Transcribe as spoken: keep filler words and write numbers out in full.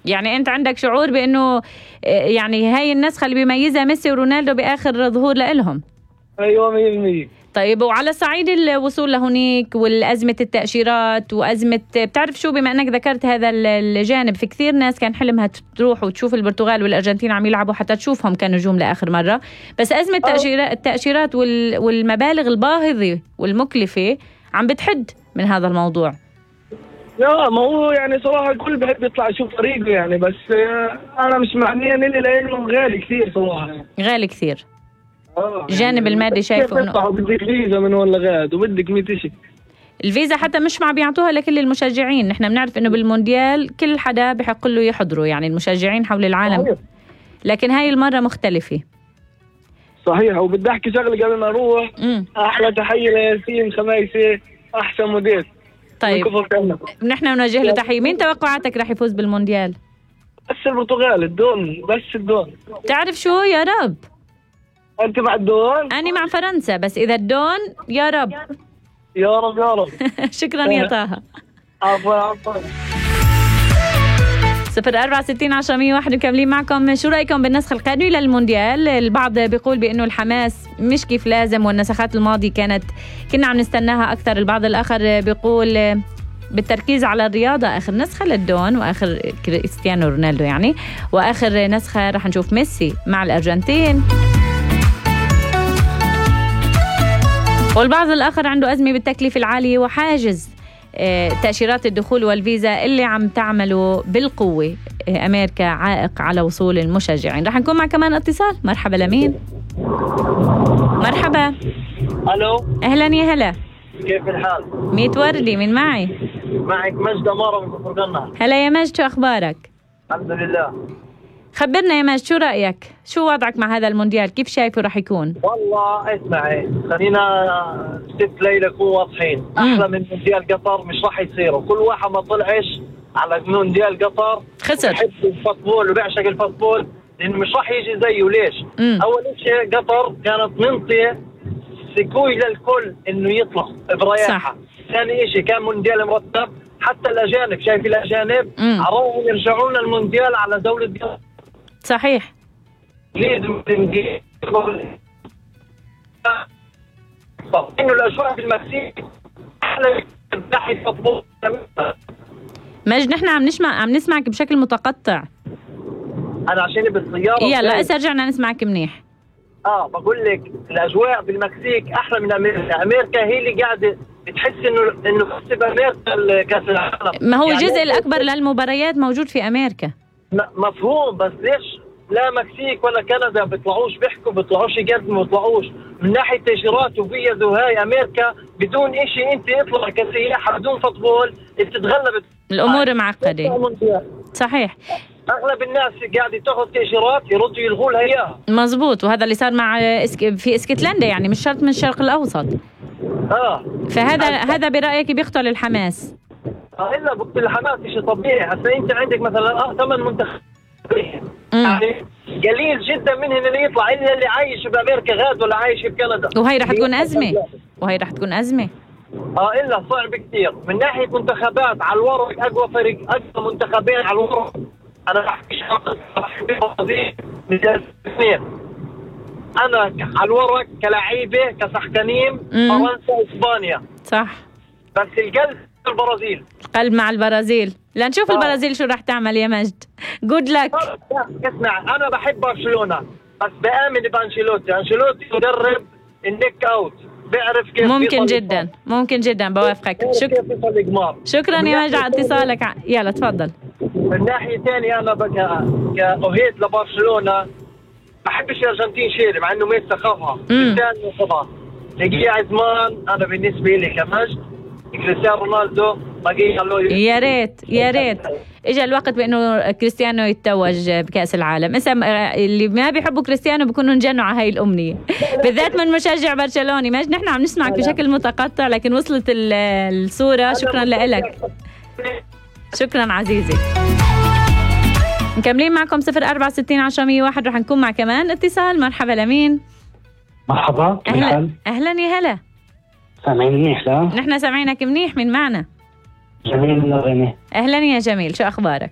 يعني أنت عندك شعور بأنه يعني هاي النسخة اللي بيميزها ميسي ورونالدو بآخر ظهور لإلهم؟ أيوة مية بالمية. طيب وعلى صعيد الوصول لهونيك والأزمة التأشيرات وأزمة، بتعرف شو، بما أنك ذكرت هذا الجانب، في كثير ناس كان حلمها تروح وتشوف البرتغال والأرجنتين عم يلعبوا حتى تشوفهم كنجوم لآخر مرة، بس أزمة التأشيرات والمبالغ الباهظة والمكلفة عم بتحد من هذا الموضوع. لا ما هو يعني صراحة الكل بحب يطلع يشوف فريقه يعني، بس أنا مش معنيه إني لأنه غالي كثير صراحة يعني. غالي كثير. آه الجانب يعني المادي شايفه إنه بدك فيزا من ولا غاد وبدك مية شيء. الفيزا حتى مش مع بيعطوها لكل المشجعين، نحن بنعرف إنه بالمونديال كل حدا بحق له يحضره، يعني المشجعين حول العالم. صحيح. لكن هاي المرة مختلفة. صحيح. وبدي أحكي شغلة قبل ما أروح. م. أحلى تحية لياسين خميسي، أحسن مدير. طيب نحن بنوجه له تحية. مين توقعاتك رح يفوز بالمونديال؟ بس البرتغال، الدون، بس الدون. تعرف شو، يا رب. أنت مع الدون؟ أنا مع فرنسا، بس إذا الدون يا رب. يا رب يا رب. شكرا يا طه. عفوا عفوا. صفر أربعة ستين عشرة مية واحد مكملين معكم. شو رأيكم بالنسخ القادم للمونديال؟ البعض بيقول بأنه الحماس مش كيف لازم، والنسخات الماضية كانت كنا عم نستناها أكثر. البعض الآخر بيقول بالتركيز على الرياضة آخر نسخة للدون وآخر كريستيانو رونالدو يعني، وآخر نسخة رح نشوف ميسي مع الأرجنتين. والبعض الآخر عنده أزمة بالتكلفة العالية وحاجز تأشيرات الدخول والفيزا اللي عم تعمله بالقوة أمريكا عائق على وصول المشجعين. رح نكون مع كمان اتصال. مرحبا لمين؟ مرحبا. ألو. أهلا يا هلا. كيف الحال؟ ميت وردي. من معي؟ معك مجد أمارة من كفر قنا. هلا يا مجد، شو أخبارك؟ الحمد لله. خبرنا يا مجد، شو رأيك؟ شو وضعك مع هذا المونديال؟ كيف شايفه رح يكون؟ والله اسمعي، خلينا ست ليلة نكون واضحين، أحلى من مونديال قطر مش رح يصيروا. كل واحد ما طلعش على مونديال قطر خسر. بحب الفوتبول وبيعشق الفوتبول، لأنه مش رح يجي زيه. ليش؟ مم. أول شيء قطر كانت منطية سكوي للكل إنه يطلع برياحة. ثاني شيء كان مونديال مرتب، حتى الأجانب، شايف الأجانب عروهم يرجعون المونديال على دولة قطر. صحيح. لازم إنه الأجواء في المكسيك أحلى من ناحية فوتبول. مجد نحن عم نسمع عم نسمعك بشكل متقطع. أنا عشاني بالسيارة. يلا هسه رجعنا نسمعك منيح. آه بقول لك الأجواء في المكسيك أحلى من أمريكا. أمريكا هي اللي قاعدة بتحس إنه إنه كسب أمريكا كأس العالم. ما هو يعني الجزء الأكبر للمباريات موجود في أمريكا. مفهوم، بس ليش لا مكسيك ولا كندا بيطلعوش بيحكوا، بيطلعوش يقدموا، بيطلعوش من ناحية تأشيرات وفيز. وهاي أمريكا بدون إشي أنت يطلع كسياحة بدون فوتبول بتتغلب. الأمور معقدة. صحيح. أغلب الناس قاعدة تأخذ تأشيرات يردوا يلغوا لها إياها. مزبوط، وهذا اللي صار مع إسك... في اسكتلندا، يعني مش شرط من الشرق الأوسط. آه. فهذا هذا برأيك بيقتل الحماس؟ آه إلا بقتل الحماس شيء طبيعي. هسا أنت عندك مثلا آه ثمان منتخبات يعني قليل جدا منهم اللي يطلع، إلا اللي عايش بأمريكا غاد ولا عايش بكندا. وهي رح تكون أزمة. وهي رح تكون أزمة. اه إلا صعب كثير من ناحية منتخبات. على الورق أقوى فريق، أقوى منتخبين على الورق. أنا بحكي الاثنين. أنا على الورق كلاعيبة كسحكانين فرنسا وإسبانيا. صح. بس القلب البرازيل. القلب مع البرازيل. لنشوف آه. البرازيل شو رح تعمل يا مجد. جود لك. اسمع أنا بحب برشلونة بس بآمن بأنشيلوتي. أنشيلوتي مدرب النيك أوت، بيعرف كيف. ممكن جدا ممكن جدا بوافقك. شك... شكرا يا مجد على اتصالك. يلا تفضل. من ناحية ثانية أنا بقى كأهيد لبرشلونة بحبش الأرجنتين شيري مع إنه ميسي خافها. كريستيانو خافها لقيه عزمان. أنا بالنسبة لي كمجد كريستيانو رونالدو بقي له. يا ريت يا ريت اجى الوقت بانه كريستيانو يتوج بكأس العالم. اسا اللي ما بيحبوا كريستيانو بيكونوا انجنوا على هاي الامنيه، بالذات من مشجع برشلوني. ماجد نحن عم نسمعك بشكل متقطع لكن وصلت الصوره. شكرا لك. شكرا عزيزي. مكملين معكم صفر أربعة ستين عشرة مية واحد. رح نكون مع كمان اتصال. مرحبا لمين؟ مرحبا. اهلا اهلا يا هلا. سامعين منيح؟ لا نحن سامعينك منيح. من معنا؟ جميل من الغني. اهلا يا جميل، شو اخبارك؟